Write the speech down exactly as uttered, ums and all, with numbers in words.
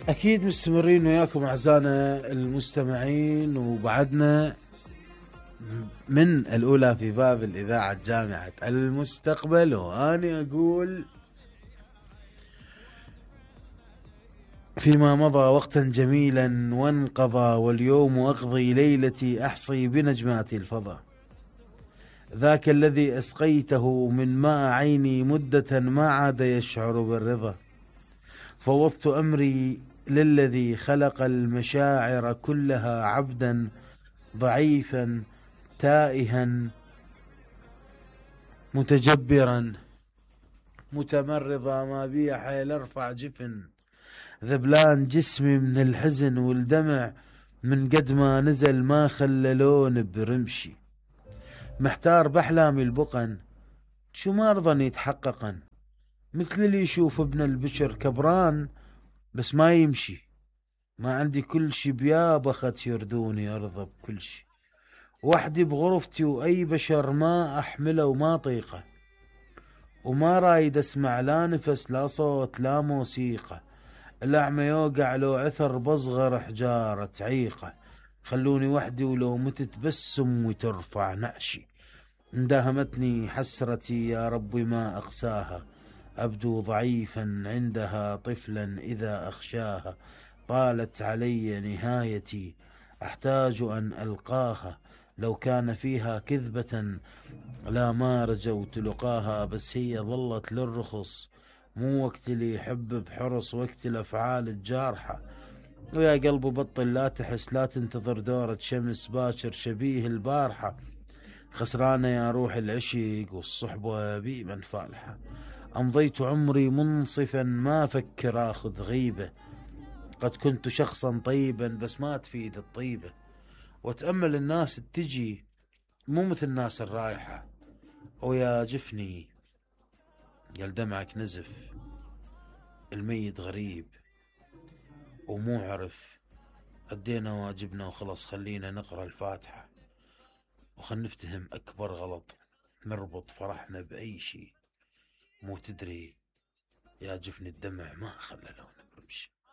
أكيد مستمرين وياكم أعزائنا المستمعين، وبعدنا من الأولى في باب الإذاعة جامعة المستقبل، وأنا أقول فيما مضى وقتا جميلا وانقضى، واليوم أقضي ليلتي أحصي بنجمات الفضا، ذاك الذي أسقيته من ماء عيني مدة ما عاد يشعر بالرضا، فوضت أمري للذي خلق المشاعر كلها، عبدا ضعيفا تائها متجبرا متمرضا، ما بي حيل ارفع جفن، ذبلان جسمي من الحزن والدمع، من قد ما نزل ما خلى لون برمشي، محتار بأحلامي البقن شو ما رضن يتحققن، مثل اللي يشوف ابن البشر كبران بس ما يمشي، ما عندي كل شي بيا بخت يردوني ارضى بكل شي، وحدي بغرفتي واي بشر ما احمله وما طيقه، وما رايد اسمع لا نفس لا صوت لا موسيقى، الاعمى يوقع لو عثر بصغر حجارة عيقة، خلوني وحدي ولو متت بس امي ترفع نعشي، اندهمتني حسرتي يا ربي ما اقساها، أبدو ضعيفا عندها طفلا إذا أخشاها، طالت علي نهايتي أحتاج أن ألقاها، لو كان فيها كذبة لا ما رجوت لقاها، بس هي ظلت للرخص، مو وقت اللي يحب بحرص، وقت الأفعال الجارحة، ويا قلبي بطل لا تحس لا تنتظر دورة شمس باكر شبيه البارحة، خسرانة يا روح العشق والصحبة بي من فالحة، أمضيت عمري منصفا ما فكر آخذ غيبة، قد كنت شخصا طيبا بس ما تفيد الطيبة، وأتأمل الناس تجي مو مثل الناس الرايحة، ويا جفني قال دمعك نزف، الميت غريب ومو عرف، أدينا واجبنا وخلص، خلينا نقرأ الفاتحة وخل نفتهم أكبر غلط، نربط فرحنا بأي شي، مو تدري يا جفن الدمع ما خلى لونك رمشي.